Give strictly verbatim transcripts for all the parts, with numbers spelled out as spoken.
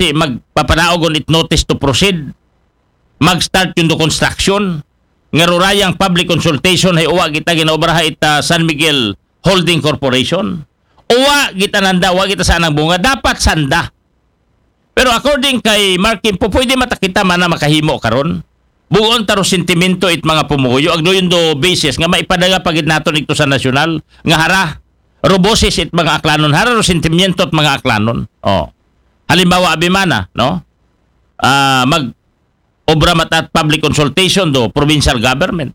ti magpapanaogon it notice to proceed, mag-start yun do construction, nga rurayang public consultation hay uwa kita ginaobraha ita San Miguel Holding Corporation. Uwa kita nanda, uwa kita sa anang bunga, dapat sanda. Pero according kay Mark Kimpo, pwede mata kita mana makahimo karon. Bugon ta ro sentimento it mga pumuyo, agdo yun do basis nga maipadaga pagid naton ito sa nasyonal, nga hara, ro boses it mga aklanon, hara ro sentimiento it mga aklanon. Oh. Halimbawa, abi mana, no? Ah, mag obra mata it public consultation do provincial government.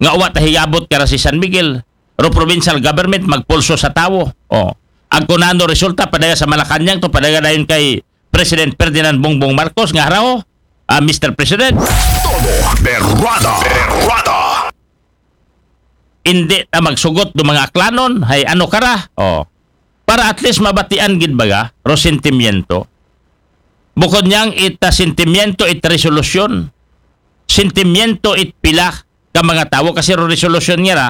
Nga uwa ta hiyabot kara si San Miguel, ro provincial government magpulso sa tawo. Oh. Agkunano resulta, padaga sa Malacañang to, padaga dayon kay President Ferdinand Bongbong Marcos nga haraw, ah, Mister President. Todo berrada, berrada. Hindi ta magsugot do mga aklanon, hay ano kara? Oh. Para at least mabatian gid baga, ro sentimiento. Bukod niyang ita sentimiento, it resolusyon. Sentimiento, it pila ka mga tawo, kasi ro resolusyon nga ra,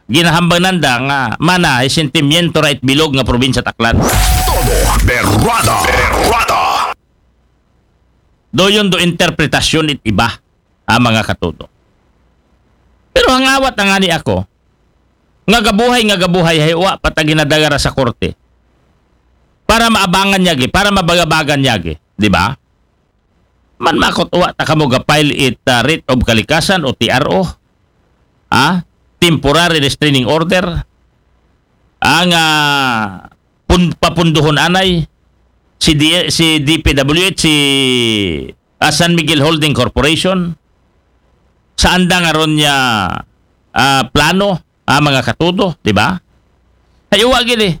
ginahambang nanda nga mana hay sentimiento ra it bilog nga probinsya Aklan. Todo berrada, berrada. Doyon do interpretasyon it iba, ah, mga katudo. Pero hangawat na nga ni ako, nga gabuhay, nga gabuhay, hay uwa pa ta ginadagara sa korte. Para maabangan niya gi, para mabagabagan niya gi, di ba? Man makot uwa ta kamo ga-file it, ah, writ of kalikasan o T R O. Ah, temporary restraining order. Ang, ah, pun-, papunduhon anay si D-, si D P W H, si, ah, San Miguel Holding Corporation. Saan da nga ron niya, ah, plano, ah, mga katudo, di ba? Hay uwa gid eh.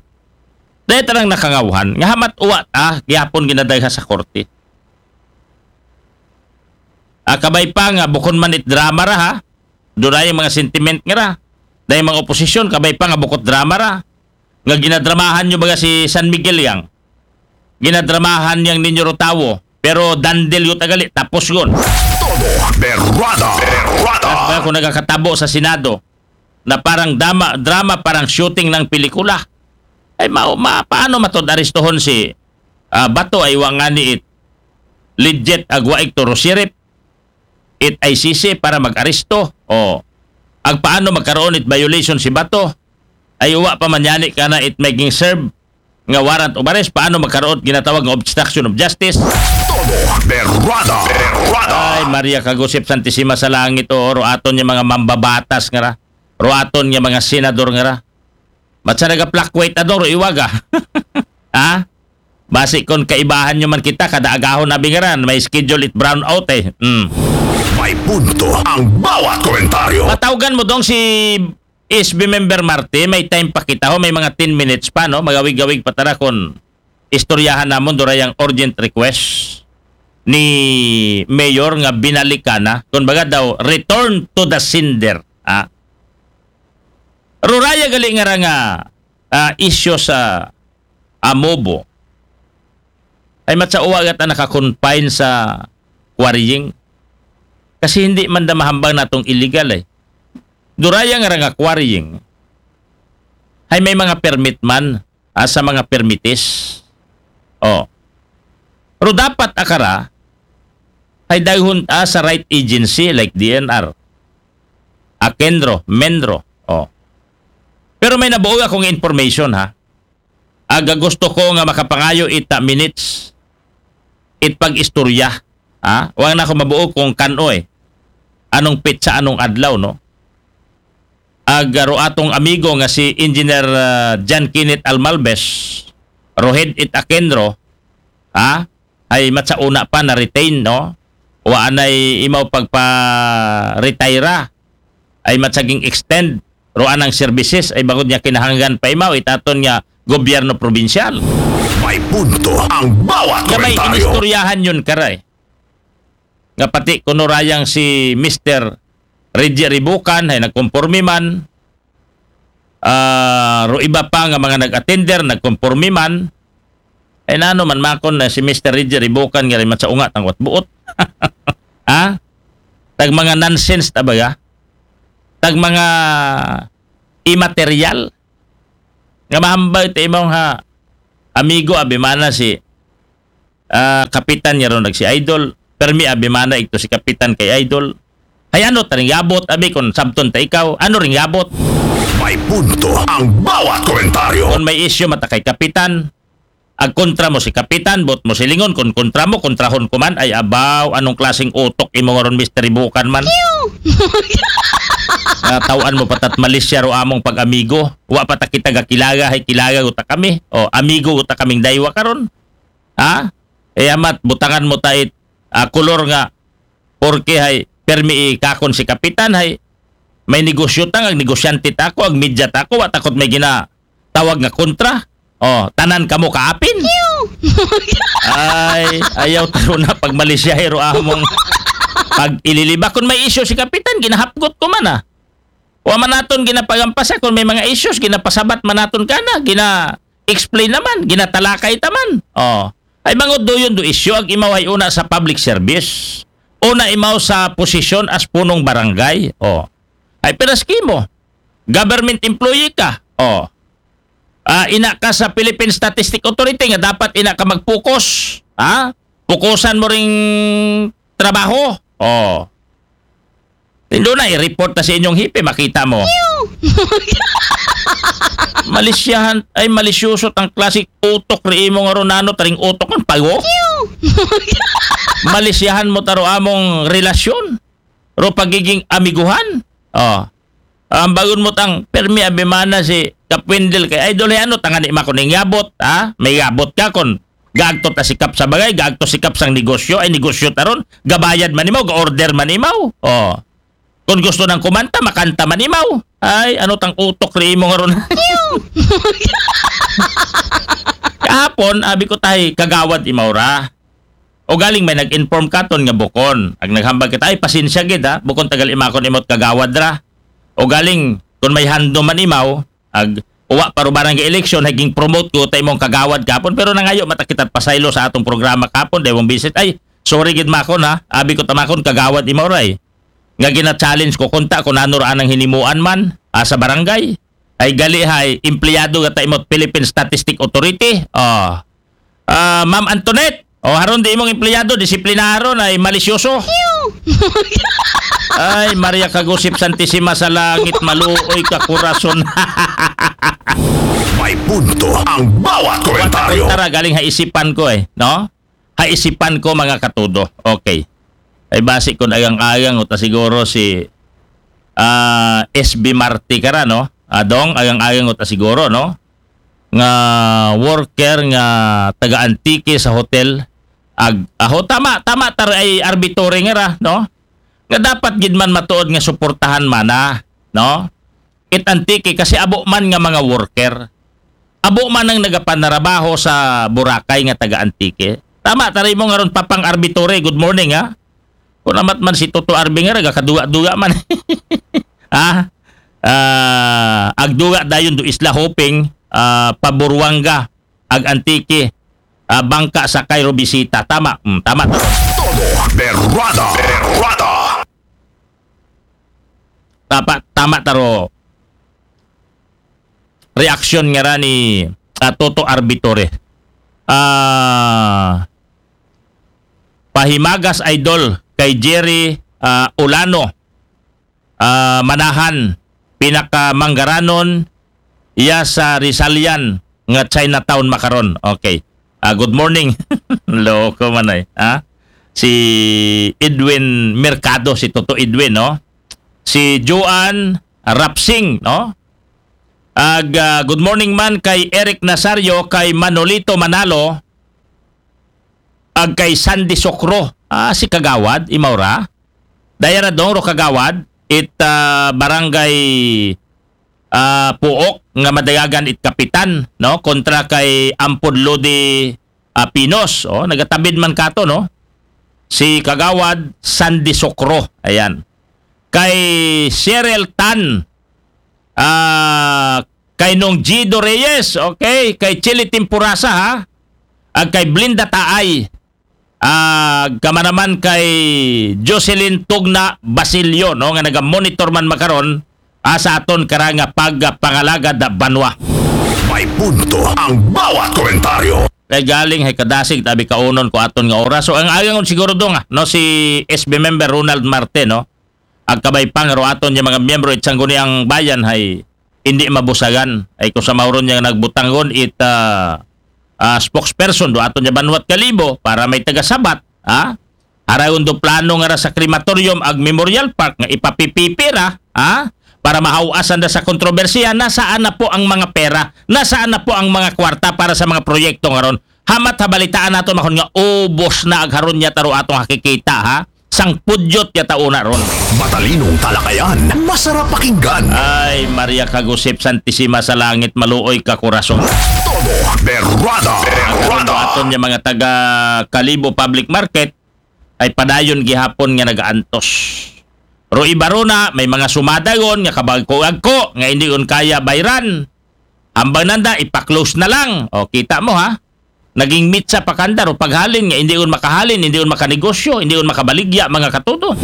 Dahil tarang nakangawhan, nga hamat uwa ta, gihapon ginadayha sa korte. Ah, kabay pa nga, bukon man it drama ra ha, dunay mga sentiment nga ra. Dahil mga oposisyon, kabay pa nga bukot drama ra. Nga ginadramahan nyo baga si San Miguel yang. Ginadramahan yang ninyo ro tawo. Pero dandel yun tagali, tapos yun. Todo berrada, berrada. At ba kung nagkakatabo sa Senado na parang drama, drama, parang shooting ng pelikula? Ay, ma, ma, paano matod aristohon si, ah, Bato ay wangani it legit agwaig to ro sheriff, it I C C para mag-aresto? O, agpaano magkaroon it violation si Bato? Ay uwa pa man yani kana it making serve nga warrant of arrest, paano magkaroon ginatawag nga obstruction of justice? Todo berrada, berrada. Ay, Maria Kagusip Santisima sa langit, o, ro aton nga mga mambabatas nga ra. Ro aton nga mga senador nga ra. Mat sa nagaplakwit adong ro iwaga. Ha? Basi kon kaibahan nyo man kita, kada agahon na bingaran, may schedule it brown out eh. Mm. May punto ang bawat komentaryo. Patawgan mo dong si S B member Marte, may time pa kita ho, may mga ten minutes pa, no? Magawig-awig pa tara kon istoryahan namon durayang urgent request ni Mayor nga binalikan na. Kun baga daw, return to the sender. Ah. Ruraya gali nga ra nga, ah, issue sa Amobo. Ay matsa uwa gata naka-confine sa quarrying. Kasi hindi man da mahambang natong illegal eh. Duraya nga ra nga quarrying. Ay may mga permit man, ah, sa mga permitis. Oh. Pero dapat akara, ay dayhon, ah, sa right agency like D N R. Akenro, Menro. Oh. Pero may nabuo akong information ha. Aga gusto ko nga makapangayo ita minutes it pag-istorya. Ha? Wala na ako mabuo kung kano eh. Anong petsa, anong adlaw, no? Aga ro atong amigo nga si Engineer, ah, John Kenneth Almalbes, Rohed it Akenro, ha? Ay matsa una pa na retain, no? Wa anay imaw pagpa-retire. Ay matsaging extend ro anang services ay bangod niya kinahanglan pa imaw itaton nga gobyerno probinsyal. May punto ang bawat komentaryo. Nga may inistoryahan yun, karay. Nga pati kuno rayang si Mister Reggie Ribukan ay nagkomporme man. Ah, ro iba pa nga mga nag-attender, nagkomporme man. Ay nano man makon na si Mister Reggie Ribukan nga rin man sa ungat ang watbuot. Ha? Tag mga nonsense ta baga? Tag mga immaterial? Nga mahambay ta imong ha amigo abimana si Ah, kapitan niya ron nag si Idol. Permi abi mana igto si kapitan kay Idol. Ay ano ta ring yabot, abi kon sabton ta ikaw, ano ring yabot? May punto ang bawat komentaryo. Kon may isyu mata kay kapitan, ag kontra mo si kapitan, bot mo silingon, kon kontra mo, kontrahon ko man, ay abaw, anong klaseng utok imo nga ron, Mister Ibukan man? Nga tawaan mo patat Malaysia ro among pag-amigo. Wa pa ta kita gakilaga, hay kilaga uta kami. O, amigo uta kaming daywa karon. Ha? E amat, butangan mo ta it ah, kolor nga, porke hay permi ikakon si kapitan hay may negosyo ta, ag negosyante ta ako, ag media ta ako, wa takot may ginatawag nga kontra. O, tanan kamo kaapin. Ay, ayaw taro na pag Malaysia hiro among pag ililiba. Kung may isyu si kapitan, ginahapgot ko man ah. Wa man naton ginapagampasa kung may mga issues, ginapasabat man naton kana, gina-explain naman, ginatalakay taman. O. Ay bangod do yun do isyu, ag imaw ay una sa public service. Una imaw sa posisyon as punong barangay. O. Ay piraski mo. Government employee ka. O. Ah, ina ka sa Philippine Statistic Authority nga dapat ina ka mag-focus. Ha? Pukusan mo ring trabaho. O. Tindo na, i-report na sa inyong hipe, makita mo. Malisyahan, ay malisyoso tang klasik utok ri imo nga ronano, taring utok ang pago. Malisyahan mo taro among relasyon. Ro pagiging amiguhan. O. Ang bagon mo tang permi abimana si Kapwindel kay Idol, ano tangani makuning yabot, ha? May yabot ka kon gaagto ta sikap sa bagay, gaagto sikap sang negosyo, ay negosyo taron, gabayad man imaw, ga-order man imaw. O. Kung gusto nang kumanta, makanta man imaw. Ay, ano tang utok ri imo nga ron? Kahapon, abi ko tahi, kagawad imaw ra. O galing may nag-inform katon nga bukon. Ag naghambag kita, ay, pasensya gid ha, bukon tagal imakon imot kagawad ra. O galing, kung may hando man imaw, ag uwa pa ro barangay election, haging promote ko ta imong kagawad kapon, pero nangayo mata kita't pasaylo sa atong programa kapon, dewang bisit, ay, sorry gid makon ha, abi ko tamakon kagawad imaw ray. Nga gina-challenge ko kunta kung ano ra anang hinimuan man ah, sa barangay. Ay gali hay empleyado gata imot Philippine Statistic Authority. O. Ah, Ma'am Antoinette, o haron di imong empleyado, disiplinaro na ay malisyoso. Ay, Maria Kagusip Santisima sa langit, maluoy ka kurason. May punto ang bawat komentaryo. Tara, galing ha isipan ko eh, no? Ha isipan ko, mga katudo. Okay. Ay basi kung agang-agang uta siguro si ah, S B Marte kara, no? Adong, agang-agang uta siguro, no? Nga worker nga taga Antique sa hotel. Ag, aho, tama, tama, tar ay arbitore nga ra, no? Nga dapat gid man matuod nga suportahan mana, no? It Antique kasi abo man nga mga worker. Abo man ang nagapanarabaho sa Boracay nga taga Antique. Tama, tari mo nga ron, Papang Arbitore, good morning, ha? Kung amat man si Toto Arbi nga ra, gakaduga-duga man. Ha? Ah, agduga dayon do Isla Hoping, ah, Paburuanga, ag Antique, ah, bangka sa Cairo bisita. Tama, mm, tama. Todo berrada. Berrada. Tama, tama taro. Reaksyon nga ra ni ah, Toto Arbitore. Ah, pahimagas idol kay Jerry ah, Ulano. Ah, manahan, pinakamanggaranon iya sa Rizalian nga Chinatown makaron. Okay. Ah, good morning. Loko man ay, ha? Si Edwin Mercado, si Toto Edwin, no? Si Joan Rapsing, no? Ag, ah, good morning man kay Eric Nazario, kay Manolito Manalo, ag kay Sandy Sokro. Ah, si Kagawad, imaw ra. Daya ra dong ro Kagawad, it ah, barangay ah, Puok nga madayagan it kapitan, no? Kontra kay Ampod Lodi ah, Pinos, oh, nagatabid man kato, no? Si Kagawad Sandy Sokro, ayan. Kay Cheryl Tan, ah, kay Nong Gido Reyes, okay, kay Chili Temporasa, ha? Ag kay Blinda Taay, ag kamanaman kay Jocelyn Tugna Basilio, no, nga naga-monitor man makaron ah, sa aton kara nga pagpangalagad banwa. May punto ang bawat komentaryo. Kay galing hay kadasig tabi kaunon ko aton nga oras. So ang ayon siguro do nga, no, si S B member Ronald Marte, no, ag kabay pa nga ro aton nga mga miyembro it Sangguniang Bayan hay hindi mabusagan. Ay kung sa mauron niya nagbutangon it ah, ah, spokesperson do aton nga Banwat Kalibo para may tagasabat, ha? Harayon do plano nga ra sa crematorium ag Memorial Park nga ipapipipira, ha? Para mahawasan da sa kontrobersiya, nasaan na po ang mga pera? Nasaan na po ang mga kwarta para sa mga proyekto nga ron? Hamat ha balitaan nato mahon nga ubos na ag haron niya taro atong hakikita, ha? Sangpudyot ya tauna ron. Matalinong talakayan, masarap pakinggan. Ay, Maria Kagusip Santisima sa langit, maluoy ka kurason. Todo Berrada. Ang Berrada. aton nga mga taga Kalibo Public Market ay padayon gihapon nga nagaantos. Ro iba ro na, may mga sumadayon nga kabagko-agko nga hindi on kaya bayran. Ambang nanda, ipa-close na lang. O, kita mo ha? Naging mitsa pa kanda ro paghalin nga hindi on makahalin, hindi on makanegosyo, hindi on makabaligya, mga katuto.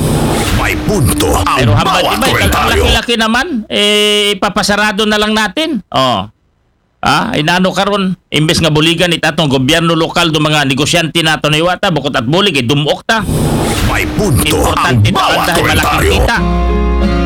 May punto ang Pero hambal bawat iba, ang komentaryo. laki-laki naman, eh, ipapasarado na lang natin. Oh. Ah, inano karon, imbes nga buligan it atong gobyerno lokal do mga negosyante nato na iwata, bukod at bulig, eh, dumok ta. May punto ang Importante na bawat banda ay malaking komentaryo. Kita.